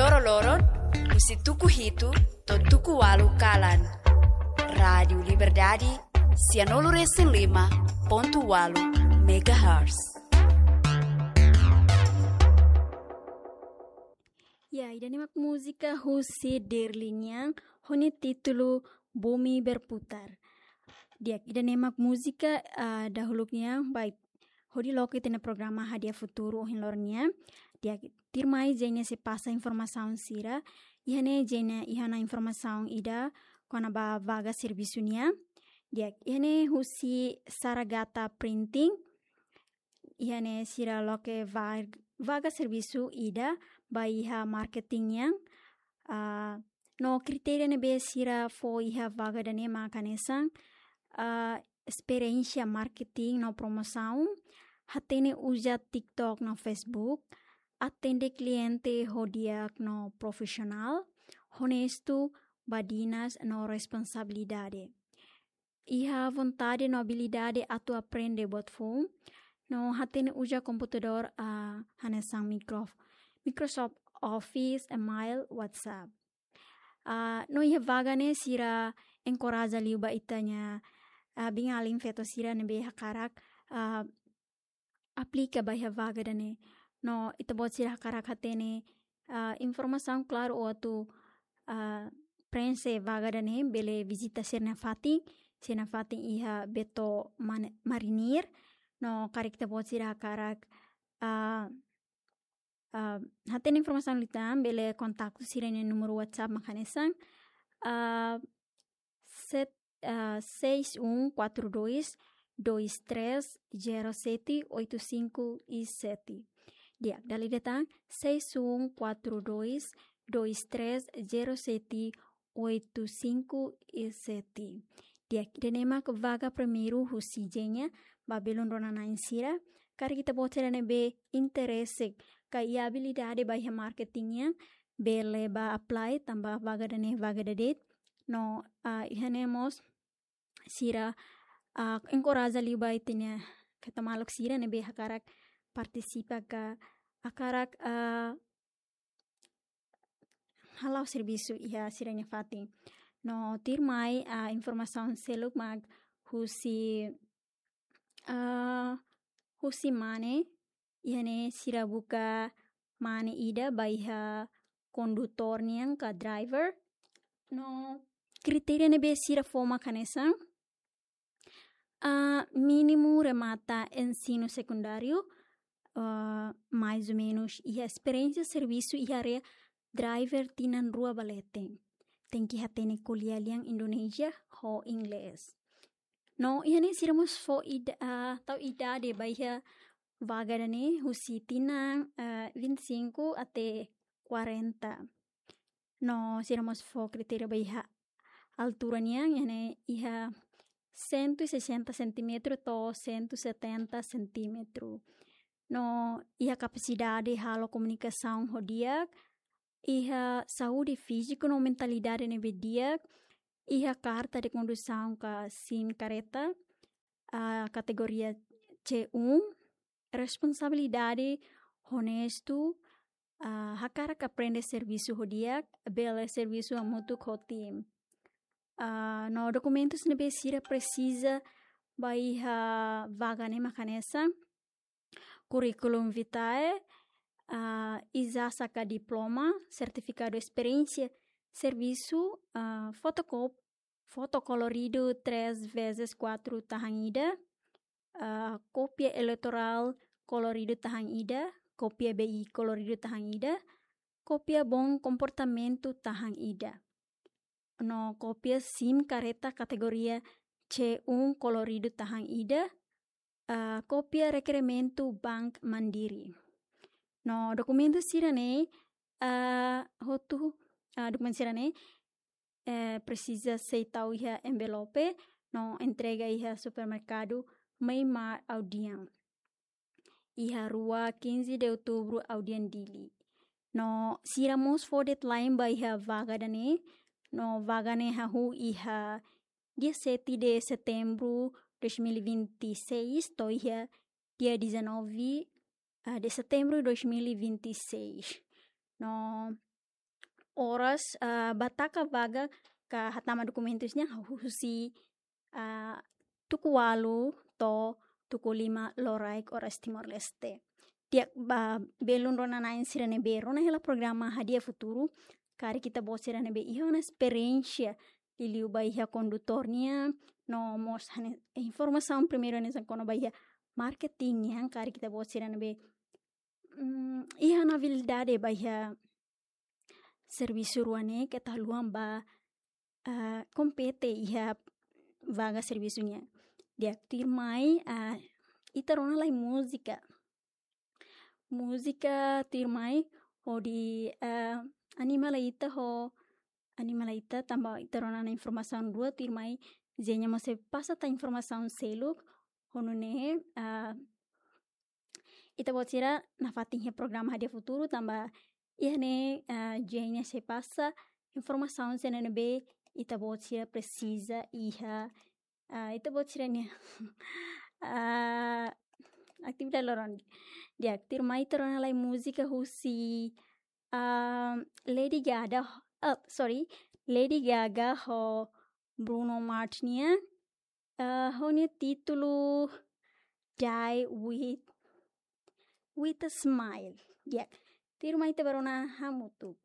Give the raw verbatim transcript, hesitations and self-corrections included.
Loroloron, husi tuku hitu to'o tuku ualu kalan. Rádiu Liberdade, sianulu resin lima pontu ualu megahertz. Ya, ida-ne'e mak múzika husi Derli nian, ho nia títulu Bumi Berputar. Di'ak, ida-ne'e mak múzika, ah, dahuluk nian, baik, hodi loke ita-nia programa Hadi'a Futuru ohin loron nian. Di'ak, tuirmai Zenia sei pasa informasaun sira. Iha ne'e Zenia iha ona informasaun ida kona-ba vaga servisu nian. Di'ak, iha ne'e husi Saragata Printing. Iha ne'e sira loke va-, vaga servisu ida ba iha marketing nian. Ah, no kritéria ne'ebé sira fó iha vaga ida-ne'e mak hanesan, ah, esperiénsia marketing no promosaun, hatene uza TikTok no Facebook, atende kliente ho di'ak no profisionál, onestu, badinas no responsabilidade. Iha vontade no abilidade atu aprende buat foun, no hatene uza komputadór, ah, hanesan micro-, Microsoft Office, email, WhatsApp. Ah, no iha vaga ne'e sira enkoraja liu ba ita-nia, ah, biin-alin feto sira ne'ebé hakarak, ah, aplika ba iha vaga ida-ne'e. No ita-boot sira hakarak hatene, ah, informasaun klaru ou atu, ah, preenxe vaga ida-ne'e, bele vizita sira-nia fatin, sira-nia fatin iha Beto Man-, Marinir. No karik ita-boot sira hakarak, ah, ah, hatene informasaun liután, bele kontaktu sira-nia númeru WhatsApp mak hanesan, ah, set-, ah, seis um quatro dois, dois três zero sete oito cinco e sete. Di'ak, dala ida tan, seis um quatro dois, dois três zero sete oito cinco e sete. Di'ak, ida-ne'e mak vaga primeiru husi Zenia ba belun rona-na'in sira. Karik ita-boot sira ne'ebé interese ka iha abilidade ba iha marketing nian, bele bá apply tanba vaga ida-ne'e vaga ida de'it. No, ah, iha ne'e mós sira, ah, enkoraja liu ba ita-nia feto maluk sira ne'ebé hakarak partisipa ka hakarak, ah, hala'o servisu iha sira-nia fatin. No tuirmai, ah, informasaun seluk mak husi, ah, husi mane, iha ne'e sira buka mane ida ba iha kondutór nian ka driver. No kritéria ne'ebé sira fó mak hanesan, ah, mínimu remata ensinu sekundáriu, ah, mais ou menus iha esperiénsia servisu iha área driver tinan rua ba leten. Tenke hatene ko'alia lian Indonézia ho Inglés. No iha ne'e sira mós fó ida-, ah, tau idade ba iha vaga ida-ne'e husi tinan, ah, vinte e cinco até quarenta. No sira mós fó kritéria ba iha altura nian, iha ne'e iha cento e sessenta centímetro to'o cento e setenta centímetro. No iha kapasidade halo komunikasaun ho di'ak, iha saúde fíziku no mentalidade ne'ebé di'ak, iha karta de kondusaun ka SIM kareta, ah, kategoria C um, responsabilidade, onestu, ah, hakarak aprende servisu ho di'ak, bele servisu hamutuk ho tim. Ah, no dokumentus ne'ebé sira presiza ba iha vaga ne'e mak hanesan, curriculum vitae, ah, ijazah ka diploma, sertifikadu esperiénsia servisu, ah, fotokóp-, foto koloridu três vezes quatro tahan ida, ah, kópia eleitorál koloridu tahan ida, kópia B I koloridu tahan ida, kópia bom comportamento tahan ida. No kópia SIM kareta kategoria C um koloridu tahan ida, ah, kópia rekerimentu Bank Mandiri. No dokumentu sira-ne'e, ah, hotu, ah, dokumentu sira-ne'e, eh, presiza sei tau iha envelope, no entrega iha supermerkadu Meimar Audian, iha rua quinze de outubro Audian Dili. No sira mós fó deadline ba iha vaga ida-ne'e, no vaga ne'e hahú iha dia sete de setembro dois mil e vinte e seis, to'o iha dia dezanove, ah, de setembro dois mil e vinte e seis. No oras, ah, ba taka vaga ka hatama dokumentus nian husi, ah, tuku ualu to'o tuku lima loraik oras Timor-Leste. Di'ak, ba belun rona-na'in sira ne'ebé rona hela programa Hadi'a Futuru, karik ita-boot sira ne'ebé iha ona esperiénsia liuliu ba iha kondutór nian, no mós hanesan informasaun primeiru hanesan kona-ba iha marketing nian, karik ita-boot sira ne'ebé, mm, iha ona abilidade ba iha servisu rua ne'e, keta haluha ba, ah, kompete iha vaga servisu nian. Di'ak, tuirmai, ah, ita rona lai múzika. Múzika tuirmai hodi, ah, anima lai ita ho, anima lai ita tanba ita rona ona informasaun rua, tuirmai Zenia mós sei pasa tan informasaun seluk, ho nune'e, ah, ita-boot sira nafatin iha programa Hadi'a Futuru tanba iha ne'e, ah, Zenia sei pasa informasaun sira ne'ebé ita-boot sira presiza iha, ah, ita-boot sira-nia, ah, atividade loron. Di'ak, tuirmai ita rona lai múzika husi, ah, Lady Gaga, ah, sorry, Lady Gaga ho Bruno Mars nian, ah, ho nia títulu Die with, with a Smile. Di'ak, tuirmai ita bá rona hamutuk.